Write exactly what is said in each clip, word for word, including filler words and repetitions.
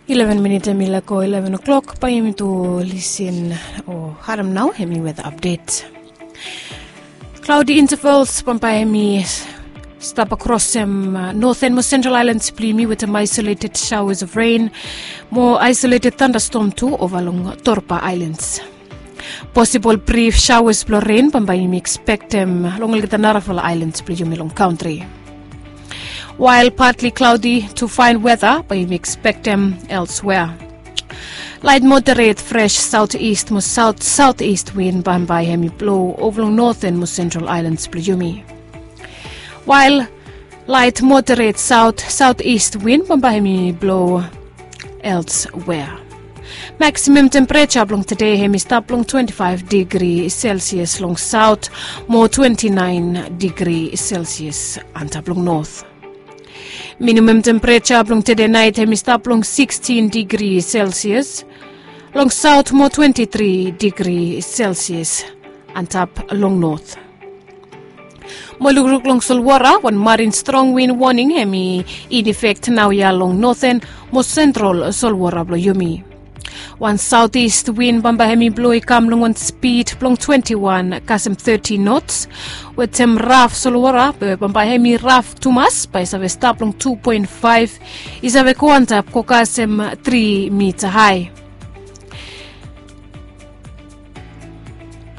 Ileven minit hemi laek go ileven o'clock, bae yumi tu lisin o harem nao hemi weather update. Cloudy intervals bambae hemi stap akrosem Northern mo Central Islands blong yumi wetem isolated showers of rain mo isolated thunderstorm tu ova long Torba Islands. Posibol brif showers blong rain bambae yumi ekspektem long olgeta narafala islands blong yumi long kantri. While partly cloudy to fine weather bae yumi ekspektem elsewhere. Light moderate fresh southeast mo south southeast wind bambae hemi blo ova long Northern mo Central Islands blong yumi. While light moderate south southeast wind bambae hemi blo elsewhere. Maximum temperature blong tede hemi stap long twenty-five degree Celsius long south mo twenty-nine degree Celsius antap long north. Minimum temperature blong tede naet hemi stap long sixteen degree Celsius long south mo twenty-three degree Celsius antap long north. Mo lukluk long solwara, wan marine strong wind warning hemi in effect naoia long Northern mo Central solwara blong yumi. Wan southeast wind bambae hemi blo i kam long wan speed blong twenty-one kasem thirty knots wetem raf solwara be bambae hemi raf tumas bae i save stap long two point five, i save go antap go kasem three mita hae.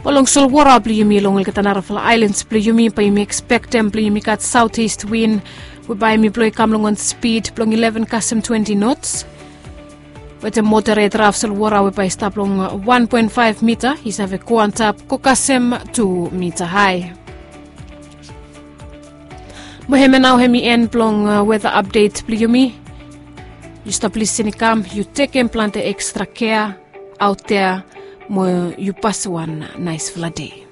Mo long solwara blong yumi long olgeta narafala islands blong yumi bae yumi ekspektem blong yumi gat southeast wind we bae hemi blo i kam long wan speed blong eleven kasem twenty knots wetem moderate raf solwara we bae i stap long one point five mita i save go antap go kasem two mita hae. Mo hemia nao hemi en blong weather update blong yumi. Yu stap lisin i kam, yu tekem plante extra kea aot dea mo yu pasem wan naesfala dei.